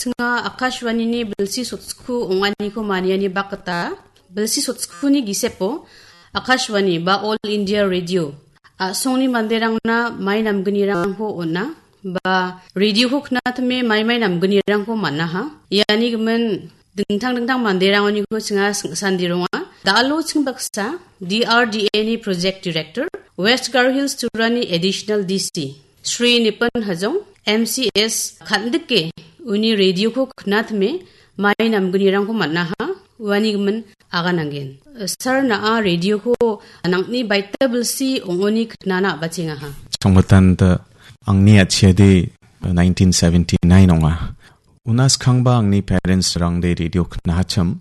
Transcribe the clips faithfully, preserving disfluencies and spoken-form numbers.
chinga Akashvanini bilsi sotskhu ong·aniko maniani bak gita, bilsi sotskuni gisepo Akashvani ba All India Radio a·songni manderangna mai namgnirangko on·a, ba radioko knatime mai mai namgnirangko man·aha. Iani gimin dingtang dingtang manderangoniko chinga sing-, sandironga. Da·alo ching baksa D R D A ni Project Director, West Garo Hills Turani Additional D C, Shri Nipun Hajong, M C S kan·dike uni radioko knatime mai namgnirangko man·aha, uani gimin agananggen. Sir, na·a radioko nang·ni baita bilsi ong·oni knana a·bachengaha. Chongmatanta angni a·chiade nineteen seventy-nine ong·a. Una skangba angni parents-rangde radio knahachim.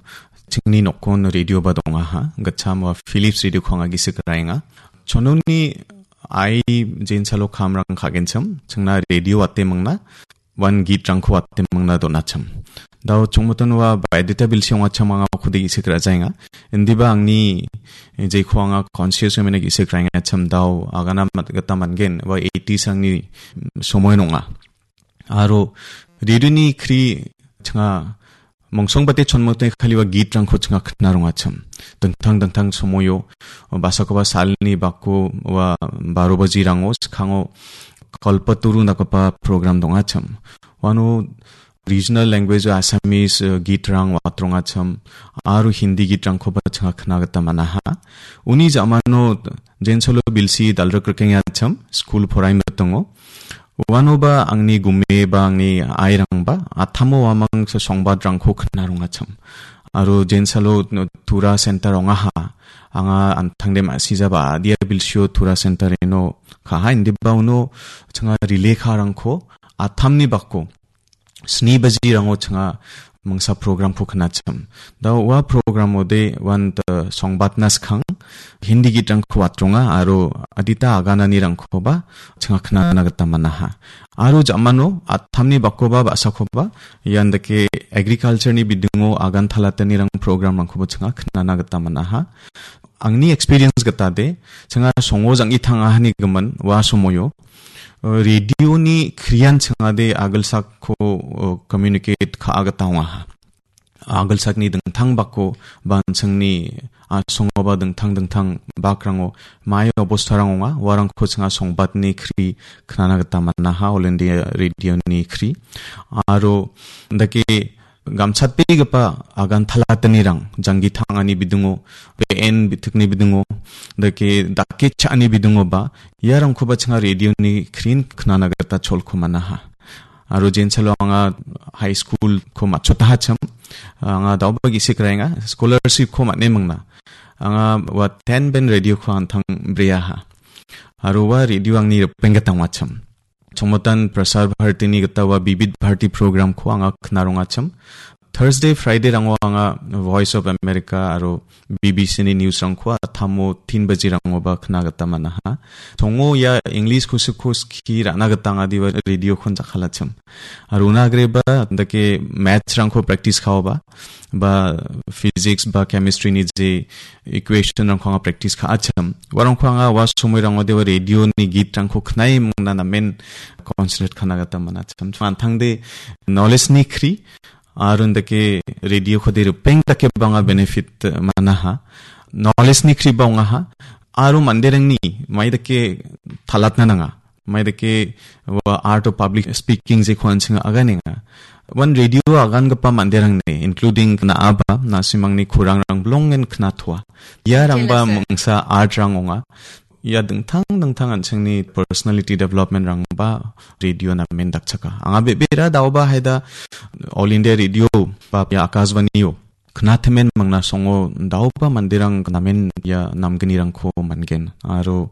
Chingni nokkon radioba dongaha. Gitcham ua Philips radioko anga gisik ra·enga. Chononi ai jensalo kamrang ka·genchim. Chingna radio wate mingna. Wan gitrangko wate mingna donachim. Dao chongmoton ua baideta bilsi ong·achim anga okode gisik ra·jaenga. Indiba angni jeko anga conscious women gisik ra·engachim dao agana mat-, gita man·gen. Ua eighties angni somoy nonga. Aro radioni kri changa mongsongbate chonmote kaliwa gitrangko changa kna rongachim. Dingtang dingtang somoio, basakoba salni bako ua baro bajirango skango Kalpataru dakgipa program dongachim. Uano regional language Assamese, eh, gitrang watrongachim, aro Hindi gitrangkoba changa kna gita man·aha. Uni ja·mano jensolo bilsi dalrik rikengachim, skul poraimitongo. Uanoba angni gume ba angni airangba, atamo uamang so-, songbadrangko kna rongachim. Aro jensalo no-, Tura Center ong·aha. Anga an·tangde ma·sijaba adia bilsio Tura Center ino kaha indiba uno changa rile karangko atamni bako sni bajirango changa mingsa programko knachim. Da ua programode wan ta songbatna skang Hindi gitrangko watronga aro adita agananirangkoba changa knana gita man·aha. Aro ja·mano atamni bakoba ba·sakoba ian dake agricultureni bidingo agan talatanirang programrangkoba changa knana gita man·aha. Angni experience gitade, changa songo jang·i tangahani gimin ua somoio, eh, radioni krian changade agilsakko, eh, communicate ka·a gita ong·aha. Agilsakni dingtang bako ba an·chingni asongoba dingtang dingtang bakrango mai obostarang ong·a, uarangko changa songbatni kri knana gita man·aha, All India Radioni kri. Aro dake gamchatbegipa agan talatanirang, janggi tangani bidingo, be·en bitikni bidingo, dake dake cha·ani bidingoba, iarangkoba changa radioni krin knana gita cholko man·aha. Aro jensalo anga high school-ko matchotahachim, anga daoba gisik raenga, scholarship-ko man·e mingna. Anga ua ten ben radio-ko an·tang breaha. Aro ua radio angni ripeng gita ong·achim. Chongmotan Prasar Bharatini gita ua Bibit Bharati program-ko anga kna rongachim. Thursday, Friday-rango anga Voice of America aro B B C-ni news-rangko atamo tin bajirangoba kna gita man·aha. Songo ia English kusikko skie ra·na gita angade ua radio-kon jakkalachim. Aro una agreba dake maths-rangko practice ka·oba, ba physics ba chemistry-ni je equation-rangko anga practice ka·achim. Uarangko anga ua somoirangode ua radio-ni git-rangko knae mingna namen concentrate ka·na gita man·achim. An·tangde knowledge-ni kri, aro indake radio-kode ripeng dake bang·a benefit man·aha. Knowledge-ni kriba ong·aha. Aro manderangni mai dake talatna nanga. Mai dake ua art of public speaking jeko an·ching aganenga. Uan radio agangipa manderangni, including na·aba, na·simangni kurangrang bilongen knatoa. Iarangba Jelas, sir. Mingsa art-rang ong·a. Ia dingtang dingtang an·chingni personality development-rangba radio namen dakchaka. Anga bebera daoba haida All India Radio ba ia Akashvani-o knatimen mangna songo daoba manderang namen ia namgnirangko man·gen. Aro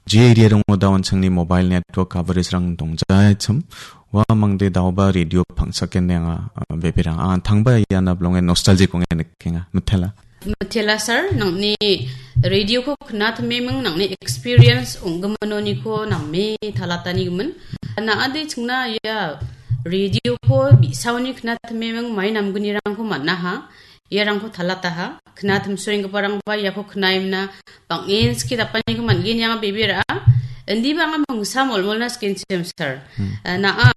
je area-rango da an·chingni mobile network coverage-rang dongjachim, uamangde daoba radio pangsakenenga, ah, beberang. Ah, an·tangba iana bilongen nostalgic ong·e nikenga. Mitela. Mitela sir, nang·ni radio-ko knatimeming nang·ni experience ong·giminoniko name talatanigimin. Na·ade chingna ia radio-ko bi·saoni knatimeming mai namgnirangko man·aha. Iarangko talataha. Knatimsoenggiparangba iako knaimna bang·en skie dapaniko man·gen ianga bebera. Indiba anga mingsa molmolna sikenchim sir. Hmm. Eh, na·a,